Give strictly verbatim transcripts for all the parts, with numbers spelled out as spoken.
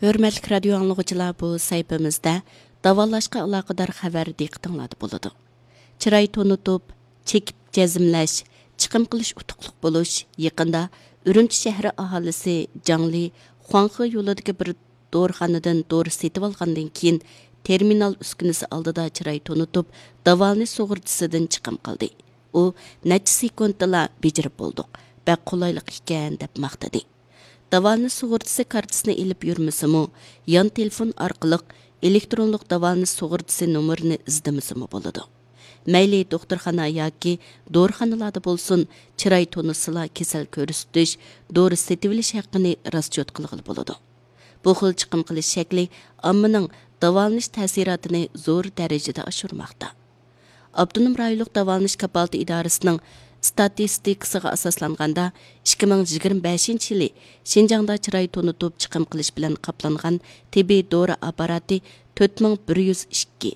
ھۆرمەتلىك رادىيو ئاڭلىغۇچىلار، بۇ سەھىپىمىزدە داۋالاشقا ئالاقىدار خەۋەر دىققىتىڭلاردا بولىدۇ. چىراي تونۇتۇپ، چېكىپ جەزملەش، چىقىم قىلىش ئۇتۇقلۇق بولۇش يېقىندا ئۈرۈمچى شەھىرى ئاھالىسى جاڭلى خۇاڭخې يولىدىكى بىر دورىخانىدىن دورا سېتىۋالغاندىن كېيىن، تېرمىنال ئۈسكۈنىسى ئالدىدا چىراي تونۇتۇپ، داۋالىنىش سۇغۇرتىسىدىن چىقىم قىلدى. ئۇ نەچچە سېكۇنتتىلا بېجىرىپ بولدۇق، بەك قولايلىق ئىكەن، دەپ ماختىدى. داۋالىنىش سۇغۇرتىسى كارتىسىنى ئېلىپ يۈرمىسىمۇ، يان تېلېفون ئارقىلىق ئېلېكترونلۇق داۋالىنىش سۇغۇرتىسى نومۇرىنى ئىزدىمىسىمۇ بولىدۇ. مەيلى دوختۇرخانا ياكى دورىخانىلاردا بولسۇن، چىراي تونۇسىلا كېسەل كۆرسىتىش، دورا سېتىۋېلىش ھەققىنى راسچوت قىلغىلى بولىدۇ. بۇ خىل چىقىم قىلىش شەكلى ئاممىنىڭ داۋالىنىش تەسىراتىنى زور دەرىجىدە ئاشۇرماقتا. ئاپتونوم رايونلۇق داۋالىنىش كاپالىتى ئىدارىسىنىڭ ئىستاتىستىكىسىغا ئاساسلانغاندا، ئىككى مىڭ يىگىرمە بەشىنچى يىلى شىنجاڭدا چىراي تونۇتۇپ چىقىم قىلىش بىلەن قاپلانغان تېببىي دورا ئاپپاراتى تۆت مىڭ بىر يۈز ئىككى،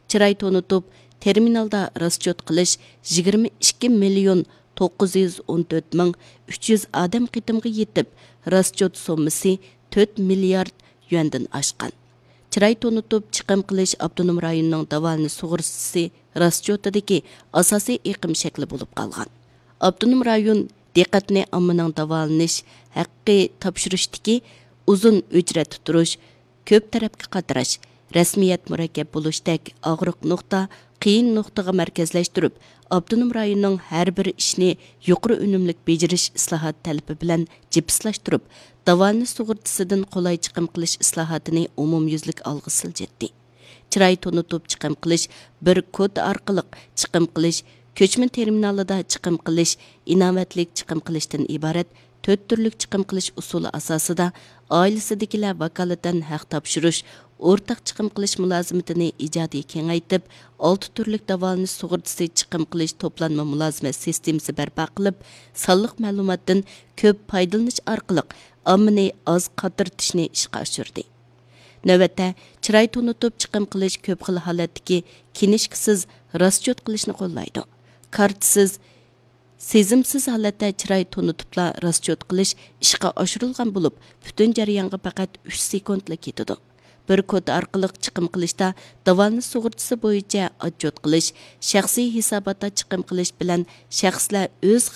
چىراي تونۇتۇپ تېرمىنالدا راسچوت قىلىش يىگىرمە ئىككى مىليون توققۇز يۈز ئون تۆت مىڭ ئۈچ يۈز ئادەم قېتىمغا يېتىپ، راسچوت سوممىسى تۆت مىليارد يۈەندىن ئاشقان. چىراي تونۇتۇپ چىقىم قىلىش ئاپتونوم رايوننىڭ داۋالىنىش سۇغۇرتىسى راسچوتىدىكى ئاساسىي ئېقىم شەكلى بولۇپ قالغان. ئاپتونوم رايون دىققەتنى ئاممىنىڭ داۋالىنىش ھەققى تاپشۇرۇشتىكى ئۇزۇن ئۆچرەتتە تۇرۇش، كۆپ تەرەپكە قاتراش، رەسمىيەت مۇرەككەپ بولۇشتەك ئاغرىق نۇقتا، قىيىن نۇقتىغا مەركەزلەشتۈرۈپ، ئاپتونوم رايوننىڭ ھەر بىر ئىشنى يۇقىرى ئۈنۈملۈك بېجىرىش ئىسلاھات تەلىپى بىلەن جىپسلاشتۇرۇپ، داۋالىنىش سۇغۇرتىسىدىن قولاي چىقىم قىلىش ئىسلاھاتىنى ئومۇميۈزلۈك ئالغا سىلجىتتى. چىراي تونۇتۇپ چىقىم قىلىش بىر كودا ئارقىلىق چىقىم قىلىش، كۆچمە تېرمىنالىدا چىقىم قىلىش، ئىناۋەتلىك چىقىم قىلىشتىن ئىبارەت تۆت تۈرلۈك چىقىم قىلىش ئۇسۇلى ئاساسىدا، ئائىلىسىدىكىلەر ۋاكالىتەن ھەق تاپشۇرۇش، ئورتاق چىقىم قىلىش مۇلازىمىتىنى ئىجادىي كېڭەيتىپ، ئالتە تۈرلۈك داۋالىنىش سۇغۇرتىسى چىقىم قىلىش توپلانما مۇلازىمەت سىستېمىسى بەرپا قىلىپ، سانلىق مەلۇماتتىن كۆپ پايدىلىنىش ئارقىلىق ئاممىنى ئاز قاترىتىشنى ئىشقا ئاشۇردى. نۆۋەتتە، چىراي تونۇتۇپ چىقىم قىلىش كۆپ خىل ھالەتتىكى كىنىشكىسىز راسچوت قىلىشنى قوللايدۇ. كارتىسىز، سېزىمسىز ھالەتتە چىراي تونۇتۇپلا راسچوت قىلىش ئىشقا ئاشۇرۇلغان بولۇپ، پۈتۈن جەريانغا پەقەت ئۈچ سېكۇنتلا كېتىدۇ. بىر كودا ئارقىلىق چىقىم قىلىشتا داۋالىنىش سۇغۇرتىسى بويىچە ئاتچوت قىلىش، شەخسىي ھېساباتتا چىقىم قىلىش بىلەن شەخسلەر ئۆز